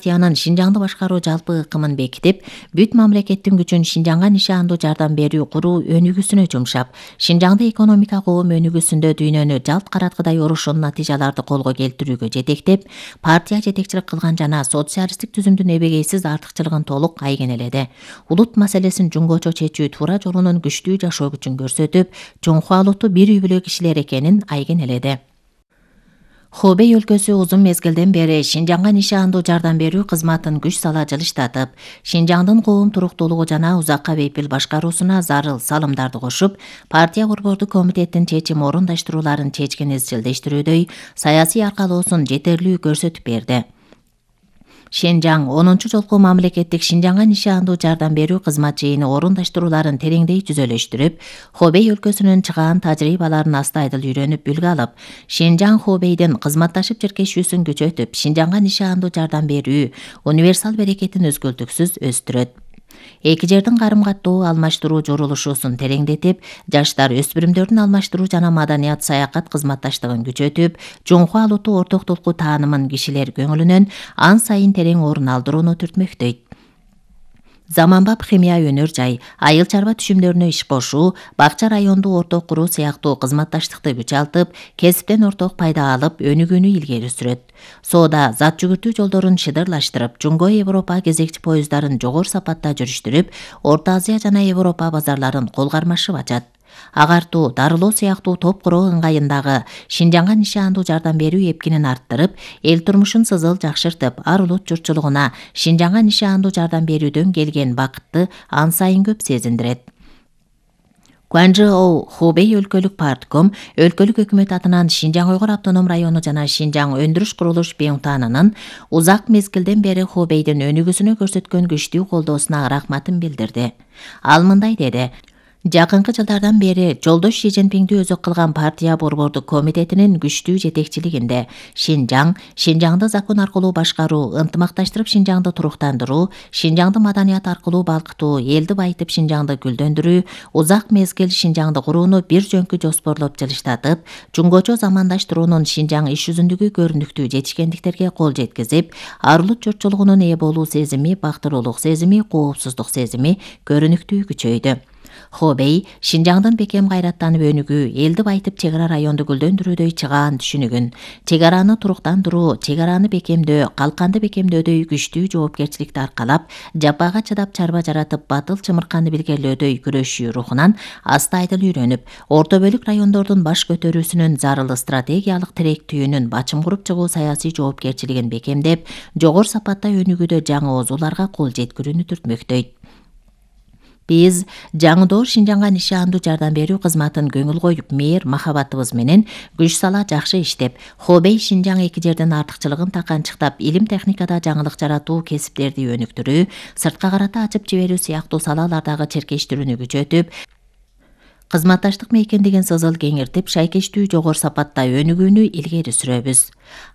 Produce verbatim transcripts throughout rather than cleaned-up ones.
партиянын Шинжаңды башкаруу жалпы ыкымын бекитип, бүт мамлекеттин күчүн Шинжаңга нишандуу жардам берүү куруу өнүгүүсүнө жумшап, Шинжаңды экономика коом өнүгүүсүндө дүйнөнү жалт караткыдай урушун натыйжаларды колго келтирүүгө жетектеп, партия жетекчилик кылган жана социалисттик түзүмдүн эбегейсиз артыкчылыгын толук айгинеледи. Улут маселесин жунгочо чечүү туура жолунун күчтүү жашоо күчүн көрсөтүп, Чоңху Алутту бир үй бүлө кишилер экенин айгинеледи. Хубей өлкөсү узун мезгилден бери Шинжаңга нишандуу жардам берүү кызматын күч сала жылыштатып, Шинжаңдын коом туруктуулугу жана узакка бейпил башкаруусуна зарыл салымдарды кошуп, партия борбордук комитеттин чечим орундаштырууларын чечкен изчилдештирүүдөй саясий аркалоосун жетерлүү көрсөтүп берди. Шинжаң онунчу жолку мамлекеттик Шинжаңга нишандуу жардам берүү кызмат жыйыны орундаштырууларын тереңдей жүзөлөштүрүп, Хубей өлкөсүнүн чыгаан тажрыйбаларын астайдыл үйрөнүп үлгү алып, Шинжаң Хубейдин кызматташып жиркешүүсүн күчөтүп, Шинжаңга нишандуу жардам берүү универсал берекетин өзгөлтүксүз өстүрөт. Эки жердин карым-каттоо алмаштыруу журулушуусун тереңдетип, жаштар өспүрүмдөрдүн алмаштыруу жана маданият саякат кызматташтыгын күчөтүп, Чоңху Алутту ортоктулуку таанымын кишилер көңүлүнөн ан сайын терең орун алдырууну түртмөктөйт. Заманбап химия өнөр жай, айыл чарба түшүмдөрүнө иш кошуу, бакча районду орток куруу сыяктуу кызматташтыкты күчалтып, кесиптен орток пайда алып, өнүгүүнү илгери сүрөт. Соода зат жүгүртүү жолдорун шыдырлаштырып, Жунго Европа кезекчи поезддарын жогору сапатта жүрүштүрүп, Орто Азия жана Европа базарларын кол кармашып ачат. Агартуу, дарылоо сыяктуу топ куроо ыңгайындагы Шинжаңга нишандуу жардам берүү эпкинин арттырып, эл турмушун сызыл жакшыртып, ар улут журтчулугуна Шинжаңга нишандуу жардам берүүдөн келген бакытты ан сайын көп сезиндирет. Куанжоу Хубей өлкөлүк партком өлкөлүк өкмөт атынан Шинжаң Уйгур автоном району жана Шинжаң өндүрүш курулуш Беунтанынын узак мезгилден бери Хубейдин өнүгүүсүнө көрсөткөн күчтүү колдоосуна рахматын билдирди. Ал мындай деди: Жакынкы жылдардан бери жолдош Ши Цзиньпиңди өзөк кылган партия борбордук комитетинин күчтүү жетекчилигинде Шинжаң, Шинжаңды закон аркылуу башкаруу, ынтымакташтырып Шинжаңды туруктандыруу, Шинжаңды маданият аркылуу балкытуу, элди байытып Шинжаңды гүлдөндүрүү, узак мезгил Шинжаңды курууну бир жөнкү жоспорлоп жылыштатып, жунгочо замандаштыруунун Шинжаң иш жүзүндөгү көрүнүктүү жетишкендиктерге кол жеткизип, ар улут журтчулугунун ээ болуу сезими, бактылуулук сезими, коопсуздук сезими көрүнүктүү күчөйдү. Хубей Шинжаңдын бекем кайраттанып өнүгүү, элди байытып чек ара районду гүлдөндүрүүдөй чыгаан түшүнүгүн, чек араны туруктандыруу, чек араны бекемдөө, калканды бекемдөөдөй күчтүү жоопкерчиликти аркалап, жапага чыдап чарба жаратып, батыл чымырканды билгелөөдөй күрөшүү рухунан астайдыл үйрөнүп, орто бөлүк райондордун баш көтөрүүсүнүн зарыл стратегиялык тиректүүнүн бачым куруп чыгуу саясий жоопкерчилигин бекемдеп, жогору сапатта өнүгүүдө жаңы оозуларга кол жеткирүүнү түртмөктөйт. Биз жаңыдоо Шинжаңга нишандуу жардам берүү кызматын көңүл коюп, мээр махабатыбыз менен күч сала жакшы иштеп, Хубей Шинжаң эки жердин артыкчылыгын таканчыктап, илим техникада жаңылык жаратуу, кесиптерди өнүктүрүү, сыртка карата ачып жиберүү сыяктуу салалардагы черкештирүүнү күчөтүп, кызматташтык мейкиндигин сызыл кеңиртип, шайкештүү жогору сапатта өнүгүүнү илгери сүрөбүз.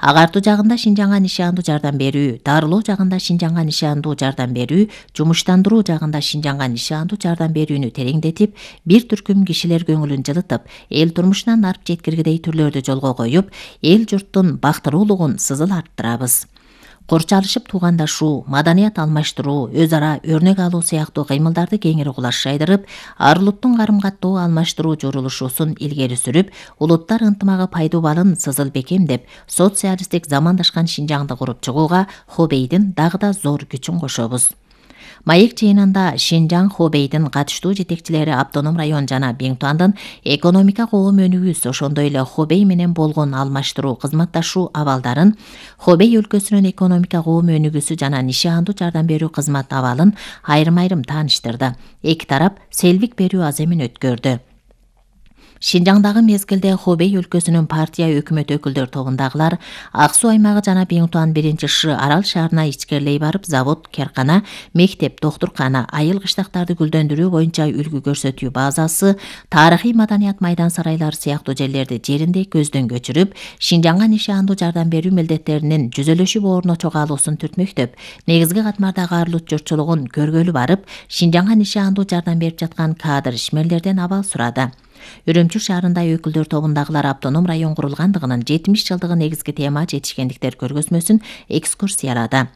Агартуу жагында Шинжаңга нишандуу жардам берүү, дарылоо жагында Шинжаңга нишандуу жардам берүү, жумуштандыруу жагында Шинжаңга нишандуу жардам берүүнү тереңдетип, бир түркүм кишилер көңүлүн жылытып, эл турмушунан арып жеткиргидей түрлөрдү жолго коюп, эл журттун бактылуулугун сызыл арттырабыз. Корчалышып туугандашуу, маданият алмаштыруу, өз ара өрнөк алуу сыяктуу кыймылдарды кеңири кулаш жайдырып, ар улуттун карым-каттоо алмаштыруу журулушуусун илгери сүрүп, улуттар ынтымагы пайдубалын сызыл бекемдеп, социалисттик замандашкан Шинжаңды куруп чыгууга Хубейдин дагы да зор күчүн кошобуз. Маек жыйынында Шинжаң Хубейдин катыштуу жетекчилери автоном район жана Беунтандын экономика коом өнүгүүсү, ошондой эле Хубей менен болгон алмаштыруу, кызматташуу абалдарын, Хубей өлкөсүнүн экономика коом өнүгүүсү жана нишандуу жардам берүү кызмат абалын айрым-айрым тааныштырды. Эки тарап селвик берүү аземин өткөрдү. Шинжаңдагы мезгилде Хубей өлкөсүнүн партия өкмөт өкүлдөр тобундагылар Ак суу аймагы жана Беунтан биринчи Ш арал шаарына ичкерлей барып, завод, керкана, мектеп, доктуркана, айыл кыштактарды гүлдөндүрүү боюнча үлгү көрсөтүү базасы, тарыхый маданият майдан сарайлары сыяктуу жерлерди жеринде көздөн көчүрүп, Шинжаңга нишандуу жардам берүү милдеттеринин жүзөлөшүп орно чогаалуусун түртмөктөп, негизги катмардагы ар улут журтчулугун көргөлү барып, Шинжаңга нишандуу жардам берип жаткан кадр ишмерлерден абал сурады. Үрүмчү шаарында өкүлдөр тобундагылар автоном район курулгандыгынын жетимиш жылдыгы негизги тема жетишкендиктер көргөзмөсүн экскурсиялады.